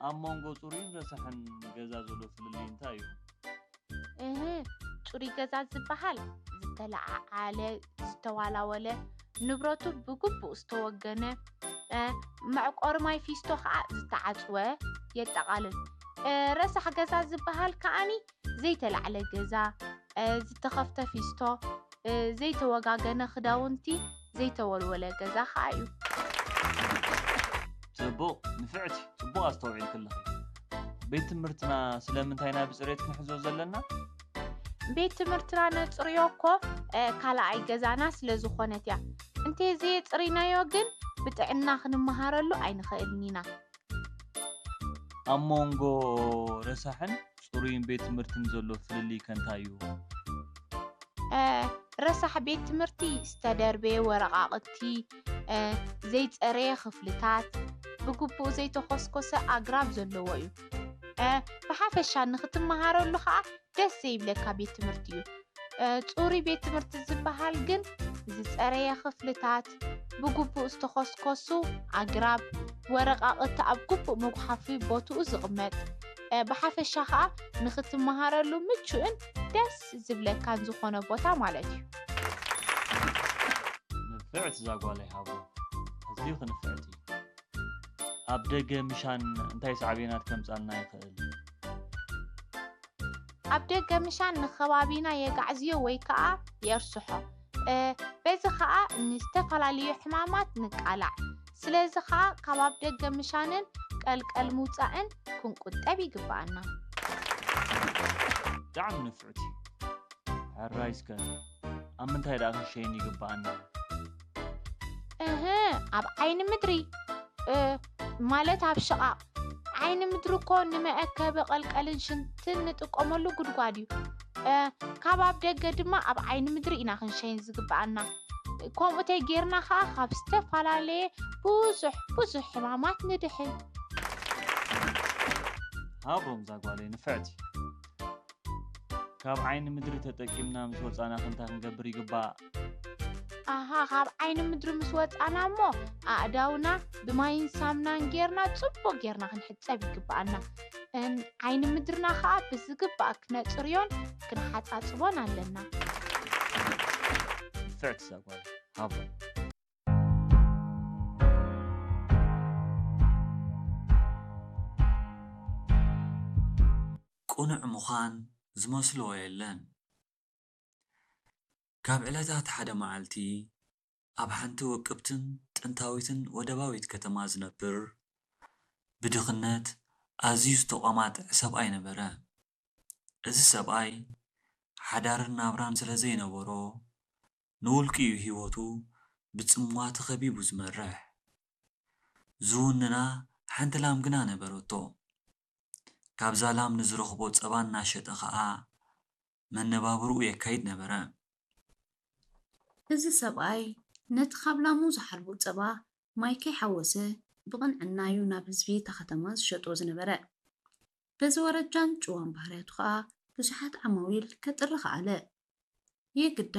ኣብ መንጎ ጽሩይን ረሳሕን ገዛ ዘሎ ፍልልይ እንታይ እዩ? እህ፣ ጽሩይ ገዛ ዝበሃል ዝተለዓዓለ፣ ዝተዋላወለ፣ ንብረቱ ብግቡእ ዝተወገነ፣ እ፣ መዕቆሪ ማይ ፊስቶ ከዓ ዝተዓጽወ የጠቓልል። እ፣ ረሳሕ ገዛ ዝበሃል ከኣኒ ዘይተላዕለ ገዛ፣ እ፣ ዝተኸፍተ ፊስቶ፣ እ፣ ዘይተወጋገነ ክዳውንቲ፣ ዘይተወልወለ ገዛ ከዓ እዩ። ጽቡቕ ንፍዕቲ፣ ጽቡቕ ኣስተውዒልኪ ኣለኺ። ቤት ትምህርትና ስለምንታይ ኢና ብጽሬት ክንሕዞ ዘለና? ቤት ትምህርትና ነጽርዮ እኮ፣ እ፣ ካልኣይ ገዛና ስለ ዝኾነት እያ። እንተዘየጽሪናዮ ግን ብጥዕና ክንመሃረሉ ኣይንኽእልን ኢና። ኣብ መንጎ ረሳሕን ጽሩይን ቤት ትምህርትን ዘሎ ፍልልይ ከ እንታይ እዩ? እ፣ ረሳሕ ቤት ትምህርቲ ዝተደርበየ ወረቓቕቲ፣ እ፣ ዘይጸረየ ክፍልታት፣ ብግቡእ ዘይተኾስኮሰ ኣግራብ ዘለዎ እዩ። እ፣ ብሓፈሻ ንኽትመሃረሉ ኸኣ ደስ ዘይብለካ ቤት ትምህርቲ እዩ። እ፣ ጽሩይ ቤት ትምህርቲ ዝበሃል ግን ዝጸረየ ክፍልታት፣ ብግቡእ ዝተኾስኮሱ ኣግራብ፣ ወረቓቕቲ ኣብ ግቡእ መጉሓፊ ቦትኡ ዝቕመጥ፣ እ፣ ብሓፈሻ ኸኣ ንኽትመሃረሉ ምቹእን ደስ ዝብለካን ዝኾነ ቦታ ማለት እዩ። ንፍዕቲ እዛ ጓለይ ሃቦ፣ ኣዝዩ ክንፍዕቲ። ኣብ ደገ ምሻን እንታይ ሳዕቤናት ከምጻልና ይኽእል? ኣብ ደገ ምሻን ንኸባቢና የጋዕዝዮ ወይ ከኣ የርስሖ። እ፣ በዚ ኸኣ ንዝተፈላለዩ ሕማማት ንቃላዕ። ስለዚ ኸኣ ካብ ኣብ ደገ ምሻንን ቀልቀል ምውጻእን ክንቁጠብ ይግብኣና። ብጣዕሚ ንፍዕቲ። ሕራይ እስከ ኣብ ምንታይ ደኣ ክንሸይን ይግብኣና? እህ፣ ኣብ ዓይኒ ምድሪ፣ እ፣ ማለት ኣብ ሽቓቕ። ዓይኒ ምድሪ እኮ ንመአከቢ ቀልቀልን ሽንትን ንጥቀመሉ ጉድጓድ እዩ። እ፣ ካብ ኣብ ደገ ድማ ኣብ ዓይኒ ምድሪ ኢና ክንሸይን ዝግብኣና። ከምኡ ተጌርና ኸዓ ካብ ዝተፈላለየ ብዙሕ ብዙሕ ሕማማት ንድሕን። ሃቦም እዛ ጓለይ ንፍዕቲ። ካብ ዓይኒ ምድሪ ተጠቂምና ምስ ወጻና ክንታይ ክንገብር ይግባእ? ኣሃ፣ ካብ ዓይኒ ምድሪ ምስ ወጻና እሞ ኣእዳውና ብማይን ሳምናን ጌርና ጽቡቕ ጌርና ክንሕጸብ ይግብኣና። እን ዓይኒ ምድርና ኸኣ ብዝግባእ ክነጽርዮን ክንሓጻጽቦን ኣለና። ንፍዕቲ እዛ ጓለይ ሃቦም። ቅኑዕ ምዃን ዝመስልዎ የለን። ካብ ዕለታት ሓደ መዓልቲ ኣብ ሓንቲ ውቅብትን ጥንታዊትን ወደባዊት ከተማ ዝነብር ብድኽነት ኣዝዩ ዝተቋማጠዐ ሰብኣይ ነበረ። እዚ ሰብኣይ ሓዳርን ናብራን ስለ ዘይነበሮ ንውልቂ እዩ ህይወቱ ብጽምዋ ተኸቢቡ ዝመርሕ። ዝውንና ሓንቲ ላም ግና ነበረቶ። ካብዛ ላም ንዝረኽቦ ጸባ እናሸጠ ኸኣ መነባብርኡ የካይድ ነበረ። እዚ ሰብኣይ ነቲ ካብ ላሙ ዝሓልቦ ጸባ ማይ ከይሓወሰ ብቕንዕና እዩ ናብ ህዝቢ እታ ከተማ ዝሸጦ ዝነበረ። በዚ ወረጃን ጭዋን ባህርያቱ ኸኣ ብዙሓት ዓማዊል ከጥሪ ኸኣለ። የግዳ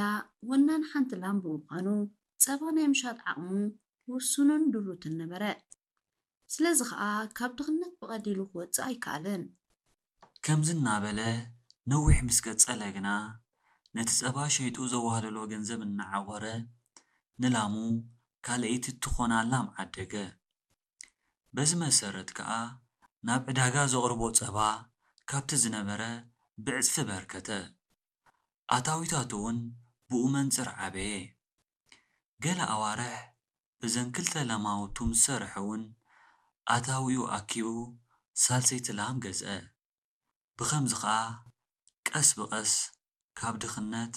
ወናን ሓንቲ ላም ብምዃኑ ጸባ ናይ ምሻጥ ዓቕሙ ውሱንን ድሩትን ነበረ። ስለዚ ኸኣ ካብ ድኽነት ብቐሊሉ ክወጽእ ኣይከኣለን። ከምዚ እናበለ ነዊሕ ምስ ቀጸለ ግና ነቲ ጸባ ሸይጡ ዘዋህለሎ ገንዘብ እናዓቖረ ንላሙ ካልኣይቲ እትኾና ላም ዓደገ። በዚ መሰረት ከኣ ናብ ዕዳጋ ዘቕርቦ ጸባ ካብቲ ዝነበረ ብዕጽፊ በርከተ። ኣታዊታቱ እውን ብኡ መንጽር ዓበየ። ገለ ኣዋርሕ እዘን ክልተ ለማውቱ ምስ ሰርሐ እውን ኣታዊኡ ኣኪቡ ሳልሰይቲ ላም ገዝአ። ብኸምዚ ኸኣ ቀስ ብቐስ ካብ ድኽነት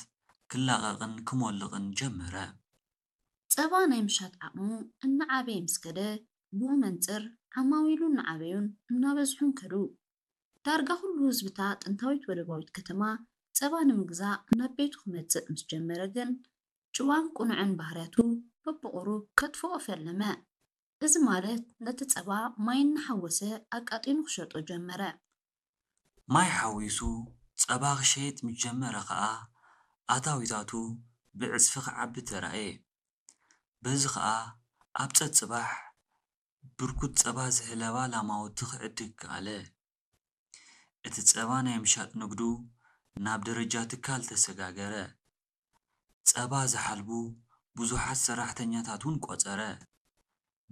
ክላቐቕን ክሞልቕን ጀመረ። ጸባ ናይ ምሻጥ ዓቕሙ እናዓበየ ምስ ከደ ብኡ መንጽር ዓማዊሉ እናዓበዩን እናበዝሑን ከዱ። ዳርጋ ኩሉ ህዝቢ እታ ጥንታዊት ወደባዊት ከተማ ጸባ ንምግዛእ ናብ ቤቱ ክመጽእ ምስ ጀመረ ግን ጭዋን ቅኑዕን ባህርያቱ በብቑሩብ ከጥፍኦ ፈለመ። እዚ ማለት ነቲ ጸባ ማይ እናሓወሰ ኣቃጢኑ ክሸጦ ጀመረ። ማይ ሓዊሱ ጸባ ክሸይጥ ምስ ጀመረ ኸኣ ኣታዊታቱ ብዕጽፊ ክዓቢ ተራእየ። በዚ ኸኣ ኣብ ጸጽባሕ ብርኩት ጸባ ዝሕለባ ላማውቲ ክዕድግ ከኣለ። እቲ ጸባ ናይ ምሻጥ ንግዱ ናብ ደረጃ ትካል ተሰጋገረ። ጸባ ዝሓልቡ ብዙሓት ሰራሕተኛታት እውን ቆጸረ።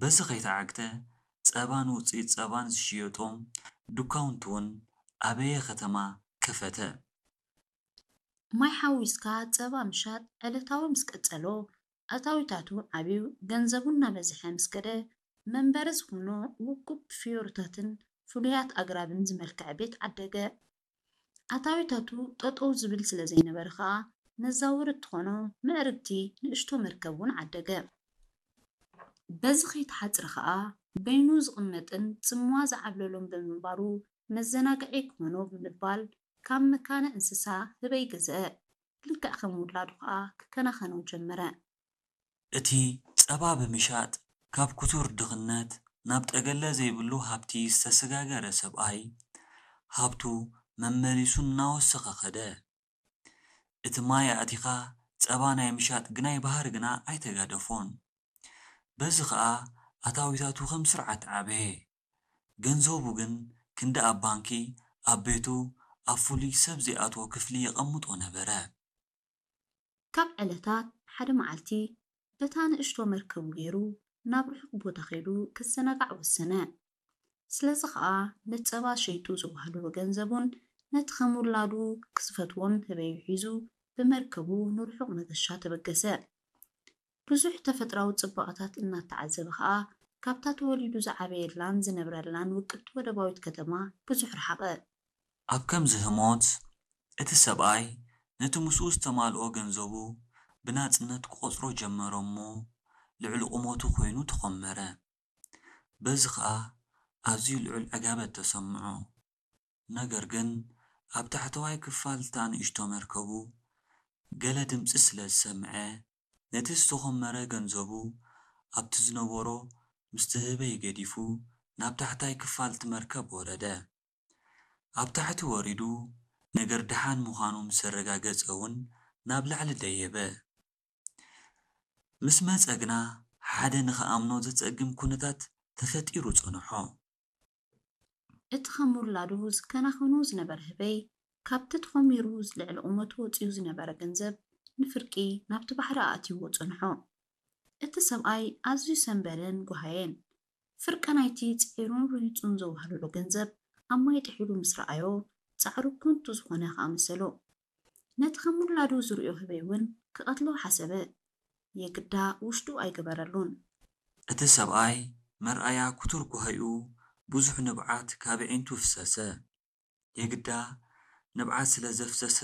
በዚ ከይተዓግተ፣ ጸባን ውጽኢት ጸባን ዝሽየጦም ዱካውንቲ እውን ኣበየ ከተማ ከፈተ። ማይ ሓዊስካ ጸባ ምሻጥ ዕለታዊ ምስ ቀጸሎ፣ ኣታዊታቱ ዓብዩ፣ ገንዘቡ እናበዝሐ ምስ ከደ፣ መንበሪ ዝኾኖ ውቁብ ፍዮርታትን ፍሉያት ኣግራብን ዝመልክዐ ቤት ዓደገ። ኣታዊታቱ ጠጠው ዝብል ስለ ዘይነበረ ኸኣ፣ መዛወሪ እትኾኖ ምዕርግቲ ንእሽቶ መርከብ እውን ዓደገ። በዚ ከይተሓጽረ ኸኣ፣ በይኑ ዝቕመጥን ጽምዋ ዝዓብለሎን ብምንባሩ፣ መዘናግዒ ክኾኖ ብምባል፣ ካብ መካነ እንስሳ ህበይ ገዝአ። ልክዕ ከም ውላዱ ኸኣ ክከናኸኖ ጀመረ። እቲ ጸባ ብምሻጥ ካብ ክቱር ድኽነት ናብ ጠገለ ዘይብሉ ሃብቲ ዝተሰጋገረ ሰብኣይ፣ ሃብቱ መመሊሱ እናወሰኸ ኸደ። እቲ ማይ ኣእቲኻ ጸባ ናይ ምሻጥ ግናይ ባህሪ ግና ኣይተጋደፎን። በዚ ኸኣ ኣታዊታቱ ከም ስርዓት ዓበየ። ገንዘቡ ግን ክንዲ ኣብ ባንኪ፣ ኣብ ቤቱ፣ ኣብ ፍሉይ ሰብ ዘይኣትዎ ክፍሊ የቐምጦ ነበረ። ካብ ዕለታት ሓደ መዓልቲ፣ በታ ንእሽቶ መርከቡ ገይሩ ናብ ርሑቕ ቦታ ከይዱ ክዘናጋዕ ወሰነ። ስለዚ ኸኣ ነቲ ጸባ ሸይጡ ዘዋህለሎ ገንዘቡን ነቲ ከም ውላዱ ክዝፈትዎን ህበዩ ሒዙ ብመርከቡ ንርሑቕ መገሻ ተበገሰ። ብዙሕ ተፈጥራዊ ጽባቐታት እናተዓዘበ ኸኣ ካብታ ተወሊዱ ዝዓበየላን ዝነብረላን ውቅብቲ ወደባዊት ከተማ ብዙሕ ረሓቐ። ኣብ ከምዚ ህሞት፣ እቲ ሰብኣይ ነቲ ምስኡ ዝተማልኦ ገንዘቡ ብናጽነት ክቖጽሮ ጀመረ እሞ፣ ልዕሊ ቁመቱ ኮይኑ ተኾመረ። በዚ ኸኣ ኣዝዩ ልዑል ዕጋበት ተሰምዖ። ነገር ግን፣ ኣብ ታሕተዋይ ክፋል እታ ንእሽቶ መርከቡ ገለ ድምጺ ስለ ዝሰምዐ፣ ነቲ ዝተኾመረ ገንዘቡ ኣብቲ ዝነበሮ ምስቲ ህበይ ገዲፉ ናብ ታሕታይ ክፋል እቲ መርከብ ወረደ። ኣብ ታሕቲ ወሪዱ ነገር ደሓን ምዃኑ ምስ ኣረጋገጸ እውን ናብ ላዕሊ ደየበ። ምስ መጸ ግና ሓደ ንኽኣምኖ ዘጸግም ኩነታት ተፈጢሩ ጸንሖ። እቲ ከም ውላዱ ዝከናኸኖ ዝነበረ ህበይ፣ ካብቲ ተኾሚሩ ልዕሊ ቁመቱ ወጺኡ ዝነበረ ገንዘብ ንፍርቂ ናብቲ ባሕሪ ኣእትይዎ ጸንሖ። እቲ ሰብኣይ ኣዝዩ ሰንበደን ጓሃየን። ፍርቂ ናይቲ ጽዒሩን ርሂጹን ዘዋህለሎ ገንዘብ ኣብ ማይ ጥሒሉ ምስ ረኣዮ፣ ጻዕሩ ከንቱ ዝኾነ ከኣ መሰሎ። ነቲ ከም ውላዱ ዝርእዮ ህበይ እውን ክቐትሎ ሓሰበ። የግዳ ውሽጡ ኣይገበረሉን። እቲ ሰብኣይ መርኣያ ክቱር ጓሂኡ ብዙሕ ንብዓት ካብ ኣዒንቱ ፍሰሰ። የግዳ ንብዓት ስለ ዘፍሰሰ